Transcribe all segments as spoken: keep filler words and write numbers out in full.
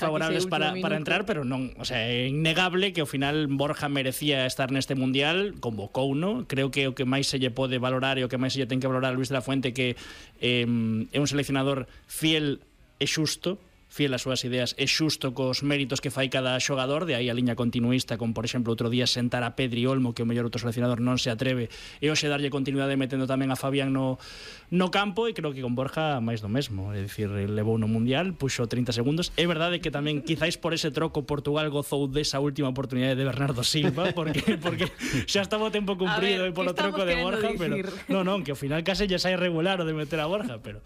favorables para, para entrar, pero non, o sea, é innegable que ao final Borja merecía estar neste mundial, convocou, no? Creo que o que máis se lle pode valorar e o que máis se lle ten que valorar a Luis de la Fuente que eh, é un seleccionador fiel e xusto, fiel ás súas ideas e xusto cos méritos que fai cada xogador, de aí a liña continuista con, por exemplo, outro día sentar a Pedri Olmo, que o mellor outro seleccionador non se atreve, e hoxe darlle continuidade metendo tamén a Fabián no, no campo, e creo que con Borja máis do mesmo, é dicir, levou no Mundial, puxo trinta segundos. É verdade que tamén quizáis por ese troco Portugal gozou desa última oportunidade de Bernardo Silva, porque porque xa estaba o tempo cumprido e polo troco de Borja, pero non, non, que ao final case lle sai regular o de meter a Borja, pero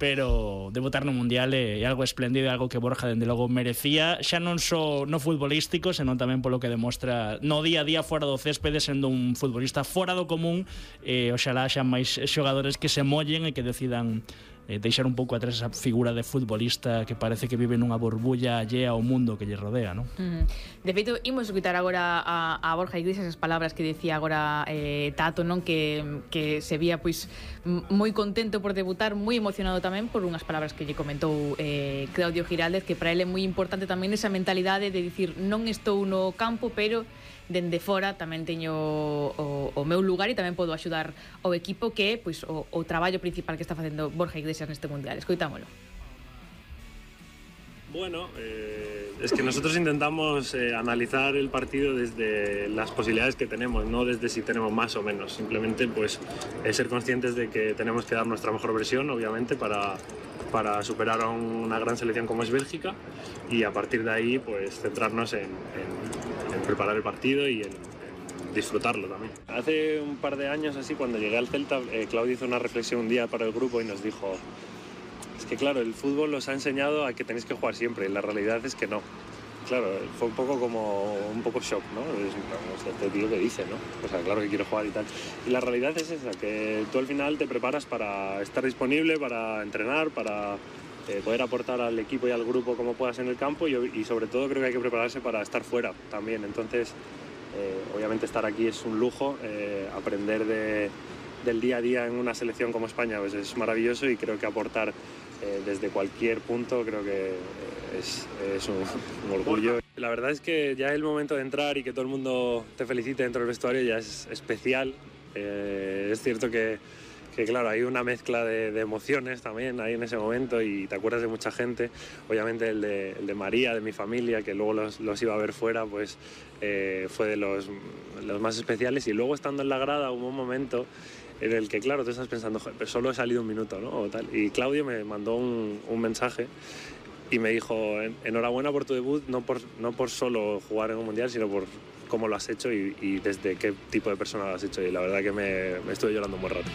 pero debutar no Mundial é algo espléndido, algo que Borja dende logo merecía, xa non só no futbolístico, senón tamén polo que demostra no día a día fora do céspede, sendo un futbolista fora do común. E oxalá xa máis xogadores que se mollen e que decidan eh, deixar un pouco atrás esa figura de futbolista que parece que vive nunha burbulla allea ao mundo que lle rodea, non? Mm. De feito, imos escutar agora a, a Borja Iglesias as palabras que decía agora eh, Tato, non? Que, que se vía pois moi contento por debutar, moi emocionado tamén por unhas palabras que lle comentou eh, Claudio Giraldez, que para ele é moi importante tamén esa mentalidade de dicir non estou no campo, pero dende fora tamén teño o, o meu lugar e tamén podo axudar ao equipo, que é pois, o, o traballo principal que está facendo Borja Iglesias neste Mundial. Escoitámolo. Bueno, eh, es que nosotros intentamos eh, analizar el partido desde las posibilidades que tenemos, no desde si tenemos más o menos. Simplemente pues eh, ser conscientes de que tenemos que dar nuestra mejor versión, obviamente, para, para superar a una gran selección como es Bélgica, y a partir de ahí pues centrarnos en, en, en preparar el partido y en, en disfrutarlo también. Hace un par de años así, cuando llegué al Celta, eh, Claudio hizo una reflexión un día para el grupo y nos dijo: es que claro, el fútbol os ha enseñado a que tenéis que jugar siempre, y la realidad es que no. Claro, fue un poco como un poco shock, ¿no? Es, no, este tío que dice, ¿no? O sea, claro que quiero jugar y tal. Y la realidad es esa, que tú al final te preparas para estar disponible, para entrenar, para eh, poder aportar al equipo y al grupo como puedas en el campo, y, y sobre todo creo que hay que prepararse para estar fuera también. Entonces, eh, obviamente estar aquí es un lujo, eh, aprender de, del día a día en una selección como España pues es maravilloso, y creo que aportar eh, desde cualquier punto creo que es, es un, un orgullo. La verdad es que ya el momento de entrar y que todo el mundo te felicite dentro del vestuario ya es especial. Eh, es cierto que, que claro, hay una mezcla de, de emociones también ahí en ese momento, y te acuerdas de mucha gente. Obviamente el de, el de María, de mi familia, que luego los, los iba a ver fuera, pues eh, fue de los, los más especiales. Y luego estando en la grada hubo un momento en el que, claro, tú estás pensando, pero solo he salido un minuto, ¿no? O tal. Y Claudio me mandó un, un mensaje y me dijo: enhorabuena por tu debut, no por, no por solo jugar en un mundial, sino por cómo lo has hecho y, y desde qué tipo de persona lo has hecho. Y la verdad que me, me estuve llorando un buen rato.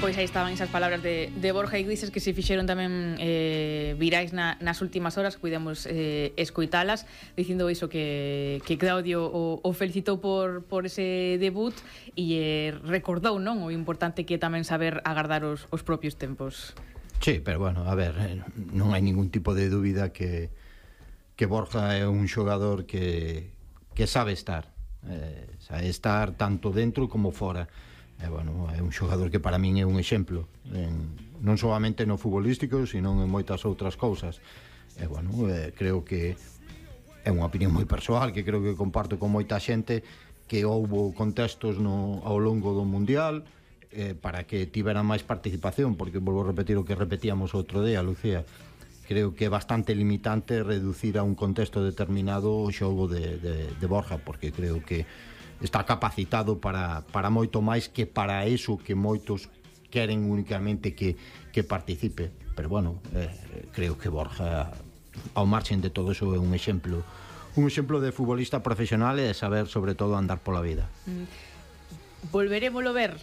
Pois aí estaban esas palabras de, de Borja Iglesias, que se fixeron tamén eh, virais na, nas últimas horas, que pudemos eh, escoitalas, dicindo iso, que, que Claudio o, o felicitou por, por ese debut e eh, recordou, non, o importante que é tamén saber agardar os, os propios tempos. Sí, pero bueno, a ver, non hai ningún tipo de dúbida que, que Borja é un xogador que, que sabe estar, eh, sabe estar tanto dentro como fora. E, bueno, é un xogador que para min é un exemplo, en, non solamente no futbolístico, sino en moitas outras cousas. E, bueno, eh, creo que é unha opinión moi persoal, que creo que comparto con moita xente, que houbo contextos no, ao longo do Mundial eh, para que tivera máis participación, porque volvo a repetir o que repetíamos outro día, Lucía. Creo que é bastante limitante reducir a un contexto determinado o xogo de, de, de Borja, porque creo que está capacitado para, para moito máis que para eso que moitos queren únicamente que, que participe. Pero bueno, eh, creo que Borja, ao marxen de todo eso, é un exemplo un exemplo de futbolista profesional e de saber sobre todo andar pola vida. Mm. Volverémolo ver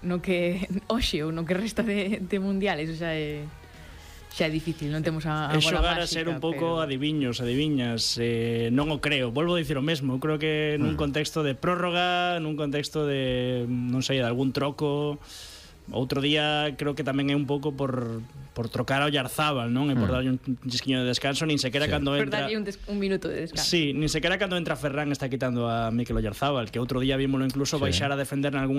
no que hoxe ou no que resta de, de mundiales, o sea, é xa é difícil, non temos a, a bola xogar máxica, a ser un pouco pero... adiviños, adiviñas, eh, non o creo, volvo a dicir o mesmo. Eu creo que nun contexto de prórroga, nun contexto de, non sei, de algún troco, outro día creo que tamén é un pouco por, por trocar a Oyarzábal, non? E por Mm. darlle un chisquiño de descanso, nin sequera Sí. cando Por entra... darlle un, des- un minuto de descanso. Sí, nin sequera cando entra Ferran está quitando a Mikel Oyarzábal, que outro día vímolo incluso Sí. baixar a defender en algunha